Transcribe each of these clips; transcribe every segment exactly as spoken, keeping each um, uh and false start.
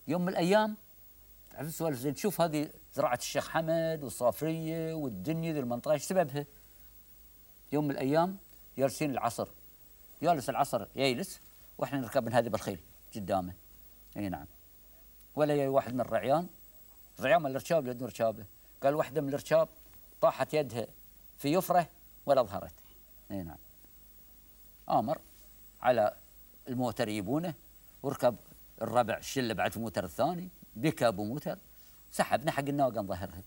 يوم من الأيام تعرف السوالف زين، تشوف هذه زراعة الشيخ حمد والصافرية والدنيا ذي المنطقة ايش سببها؟ يوم من الأيام جالسين العصر، جالس العصر يجلس واحنا نركب هذه بالخيل قدامه. اي نعم. ولا يا واحد من الرعيان، الرعيان من الركاب يدون ركابه، قال واحدة من الركاب طاحت يدها في يفرة ولا ظهرت. اي نعم. آمر على الموتر يجيبونه، وركب الربع الشله بعد في الموتر الثاني، بكى ابو موتر، سحبنا حق الناقه نظهرها،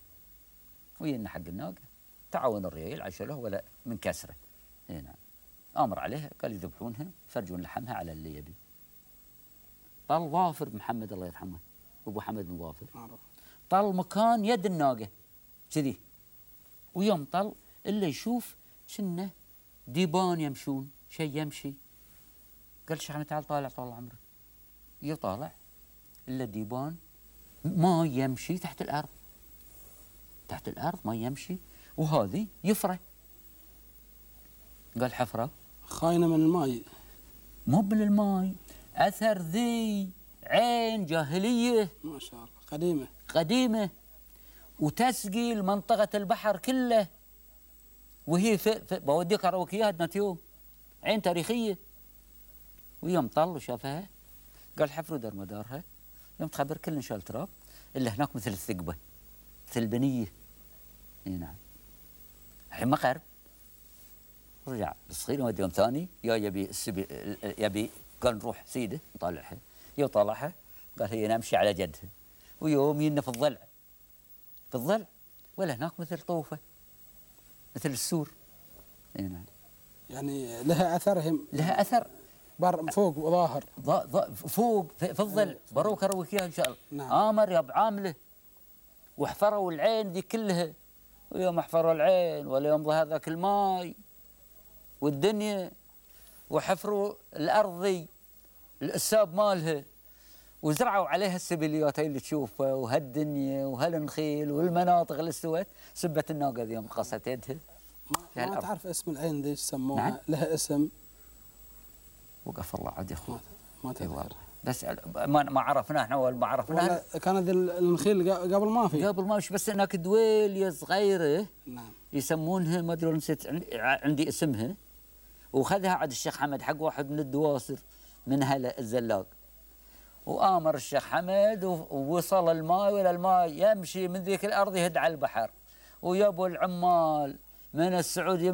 وينا حق الناقه، تعاون الريال عشله ولا من كسره. اي نعم. امر عليها قال يذبحونها يفرجون لحمها على اللي يبي. طال ظافر محمد الله يرحمه، ابو حمد بن ظافر، طال مكان يد الناقه كذي، ويوم طل الا يشوف كنه ديبان يمشون، شيء يمشي. قال شيخ تعال طالع طال عمرك. يطالع الا ديبان ما يمشي تحت الارض، تحت الارض ما يمشي، وهذه يفره. قال حفره خاينه من الماء، مو من الماء، اثر ذي عين جاهليه ما شاء الله قديمه قديمه، وتسقي منطقه البحر كله، وهي في, في بوديك اروك اياها يوم، عين تاريخيه. ويوم طل وشافها قال حفروا دار مدارها، يوم تخبر كل شال تراب الا هناك مثل الثقبه، مثل البنيه. اي نعم. الحين ما قرب، رجع الصغير ودي يوم ثاني يا يبي السبي يبي، قال نروح سيده نطالعها. يوم طالعها قال هي نمشي على جدها، ويوم ينا في الضلع، في الضلع ولا هناك مثل طوفه، مثل السور. اي نعم. يعني لها اثرهم، لها اثر بر فوق وظاهر، فوق في, في الظل. بروك اروك اياها ان شاء الله. نعم. امر يا بعامله، وحفروا العين ذي كلها، ويوم حفروا العين ولا يوم ظهر ذاك الماي والدنيا، وحفروا الارض ذي الاساب مالها، وزرعوا عليها السبليات اللي تشوفها وهالدنيا وهالنخيل والمناطق اللي استوت، سبت الناقه ذي يوم قصت يدها. ما, ما تعرف اسم العين ذي ايش سموها؟ نعم؟ لها اسم؟ وقف الله عاد يا اخوي ما تذكر، بس ما ما عرفناه احنا ولا ما عرفناه. كانت النخيل قبل ما في، قبل ما في، بس هناك دويليه صغيره نعم يسمونها، ما ادري نسيت عندي اسمها، وخذها عاد الشيخ حمد حق واحد من الدواسر من هلا الزلاق، وامر الشيخ حمد ووصل الماء، ولا الماء يمشي من ذيك الارض يهد على البحر، ويابوا العمال من السعوديه